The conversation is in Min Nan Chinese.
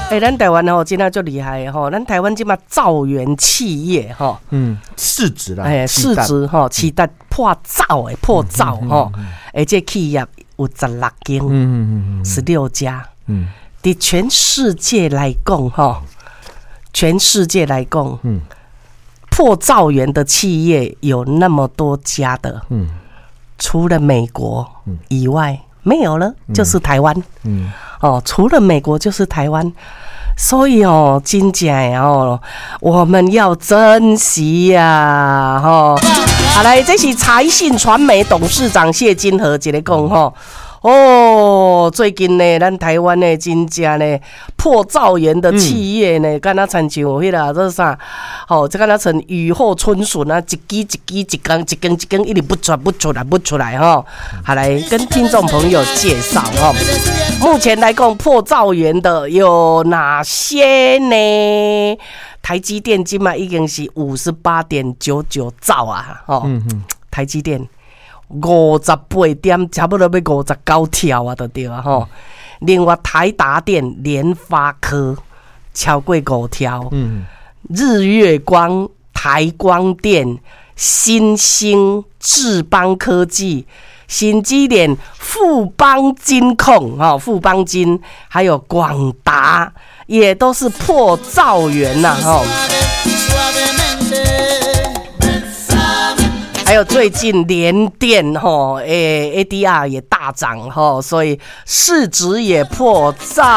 欸，咱台灣吼真正足厲害的吼，咱台灣這馬兆元企業吼，市值啦，欸，市值吼，市值破兆的破兆吼，欸，這企業有16間，16家，佇全世界來講吼，全世界來講，破兆元的企業有那麼多家的，除了美國以外沒有了，就是台灣，哦，除了美國就是台灣，所以哦，真正的哦，我們要珍惜呀，吼。好來，這是財信傳媒董事長謝金河一个講吼。哦，最近呢，咱台灣呢，真正呢破兆元的企業呢，敢若親像彼个這啥，吼，這敢若像雨後春筍啊，一支一支一根一根一根一直不出不出來不出來吼。好，來跟聽眾朋友介紹吼，目前來講破兆元的有哪些呢？台積電這馬已經是58.99兆啊，吼，台積電。58點，差不多欲59兆啊，就對啊吼。另外，台達電、聯發科超過5兆，日月光、台光電、欣興、智邦科技、甚至連富邦金控、吼，富邦金，還有廣達，也都是破兆元吶，吼。還有最近聯電吼，欸，ADR 也大漲吼，所以市值也破兆。